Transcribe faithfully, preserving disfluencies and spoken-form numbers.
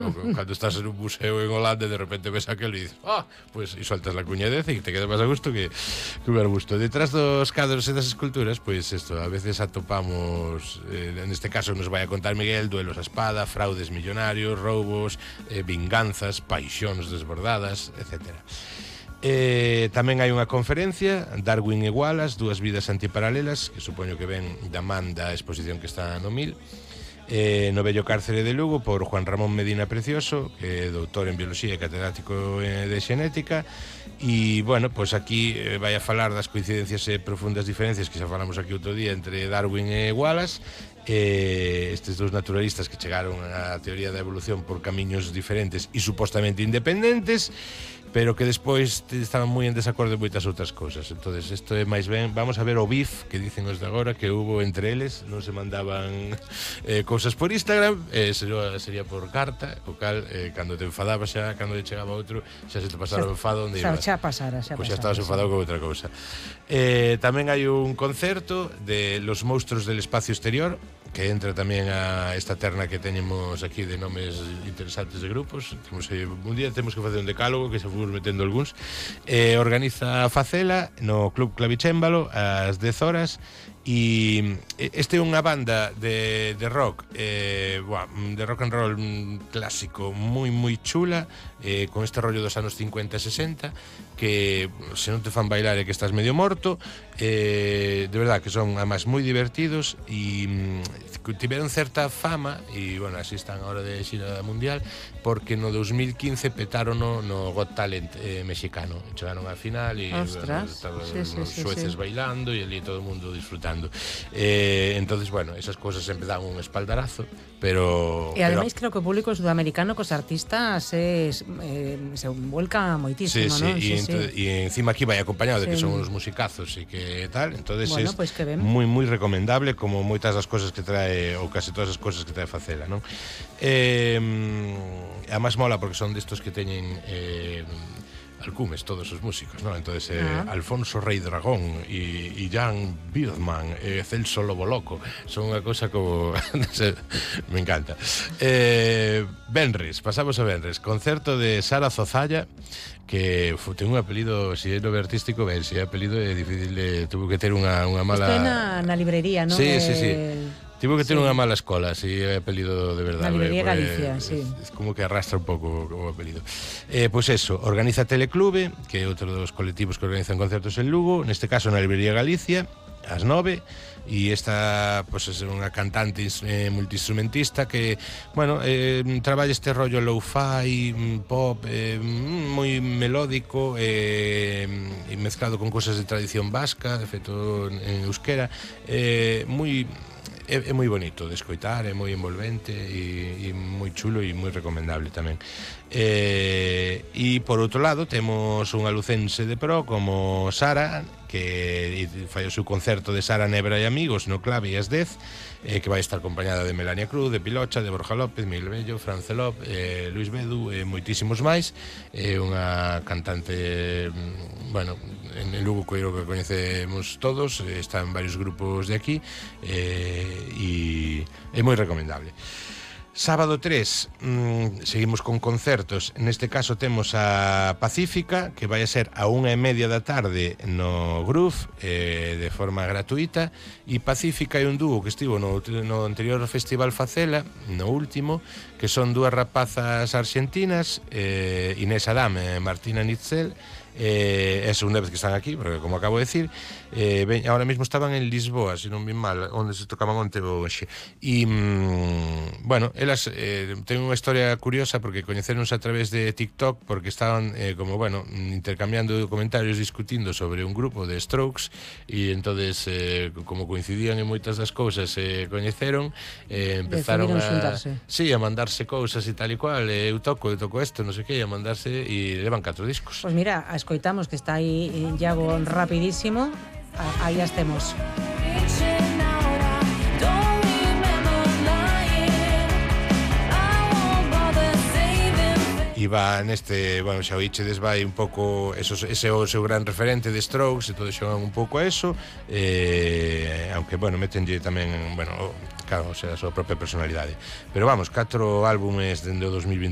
Uh-huh. Cando estás en un museo en Holanda de repente ves aquel e dices, ah, pues, e soltas la cuñadez e te queda máis a gusto que, que un arbusto. Detrás dos cadros e das esculturas, pois pues, isto, a veces atopamos, eh, neste caso nos vai a contar Miguel, duelos a espada, fraudes millonarios, roubos, eh, vinganzas, paixóns desbordadas, etcétera. Eh, tamén hai unha conferencia, Darwin e Wallace, dúas vidas antiparalelas, que supoño que ven da man da exposición que está no Mil, eh, no vello cárcere de Lugo, por Juan Ramón Medina Precioso, que é doutor en biología e catedrático de xenética. E, bueno, pois aquí eh, vai a falar das coincidencias e profundas diferencias que xa falamos aquí outro día entre Darwin e Wallace, eh, estes dous naturalistas que chegaron á teoría da evolución por camiños diferentes e supostamente independentes, pero que despois estaban moi en desacordo en moitas outras cousas. Entonces, isto é máis ben, vamos a ver o bif que dicen os de agora que hubo entre eles, non se mandaban eh, cousas por Instagram, eh, sería, sería por carta, o cal, eh, cando te enfadabas xa, cando te chegaba outro, xa se te pasara o enfado onde ibas. Xa pasara, xa Pois pasara, xa estabas enfadado con outra cousa. Eh, tamén hai un concerto de Los Monstruos del Espacio Exterior, que entra tamén a esta terna que teñemos aquí de nomes interesantes de grupos. Temos, eh, un día temos que facer un decálogo que se fomos metendo algúns. Eh, organiza Facela no Club Clavicémbalo ás dez horas. E este é unha banda de, de rock eh, buah, de rock and roll clásico moi moi chula, eh, con este rollo dos anos cincuenta e sesenta, que se non te fan bailar é que estás medio morto, eh, de verdad que son además moi divertidos e mm, tiveron certa fama e bueno, así están agora de xira mundial porque no dos mil quince petaron no, no Got Talent eh, mexicano, chegaron á final e bueno, estaban sí, sí, os sí, sueces sí. bailando e ali todo o mundo disfrutando. Eh, entonces, bueno, esas cosas sempre dan un espaldarazo, pero... E ademais creo que o público sudamericano cos artistas es, eh, se vuelca moitísimo, sí, sí, non? E, Sí, ento, sí. e encima aquí vai acompañado de que Sí. son unos musicazos e que tal, entonces Bueno, es pois que ben. moi moi recomendable, como moitas das cosas que trae, ou case todas as cosas que trae Facela, non? Eh, además mola porque son destos que teñen eh, alcumes todos os músicos, ¿no? Entonces eh, ah. Alfonso Rei Dragón e, e Jan Birdman, eh, Celso Lobo Loco, son unha cosa como me encanta. Eh, Benres, pasamos a Benres, concerto de Sara Zozalla, que fu, ten un apelido, si é nome artístico, ben, si é apelido é difícil de, tuvo que ter unha, unha mala... Isto é na, na librería, non? Sí, sí, sí. Tivo que ter sí. unha mala escola, si é apelido de verdade. Na librería pues, Galicia, es, sí. Es como que arrastra un pouco o apelido. Eh, pois pues eso, organiza Teleclube, que é outro dos colectivos que organizan concertos en Lugo, neste caso na librería Galicia, ás nove, e esta pues, é unha cantante eh, multiinstrumentista que, bueno, eh, traballa este rollo lo-fi, pop, eh, moi melódico eh, e mezclado con cosas de tradición vasca, de feito en euskera, eh, moi... É, é moi bonito de escoitar, é moi envolvente e, e moi chulo e moi recomendable tamén. Eh, e por outro lado temos unha lucense de pro como Sara, que fai o seu concerto de Sara Nebra e Amigos no Clave ás dez, eh, que vai estar acompañada de Melania Cruz, de Pilocha, de Borja López, Miguel Bello, Fran Celop, eh, Luis Bedu e eh, moitísimos máis. É eh, unha cantante, bueno, en Lugo creo que coñecemos todos, está en varios grupos de aquí eh, e é moi recomendable. Sábado tres, mmm, seguimos con concertos. Neste caso temos a Pacífica, que vai a ser a unha e media da tarde no Groove, eh, de forma gratuita. E Pacífica é un dúo que estivo no, no anterior Festival Facela, no último, que son dúas rapazas argentinas, eh, Inés Adam e Martina Nitzel. Eh, é a segunda vez que están aquí, porque como acabo de decir, eh, ben, ahora mismo estaban en Lisboa, se non vi mal, onde se tocaban onte ou hoxe. E, mm, bueno, elas eh, ten unha historia curiosa porque coñeceronse a través de TikTok, porque estaban, eh, como, bueno, intercambiando comentarios, discutindo sobre un grupo de Strokes, e entonces eh, como coincidían en moitas das cousas, se eh, coñeceron, eh, empezaron a... xuntarse. Sí, a mandarse cousas e tal e cual, eh, eu toco, eu toco isto, non sei que, a mandarse, e levan catro discos. Pois pues mira, a escoitamos que está aí Iago rapidísimo. Aí as temos. E va neste, bueno, xa o Ichedes vai un pouco, eso, ese é o seu gran referente de Strokes e todo xogan un pouco a eso, eh, aunque, bueno, metenlle tamén, bueno, claro, o sea, a súa propia personalidade. Pero vamos, catro álbumes dende o dos mil vinte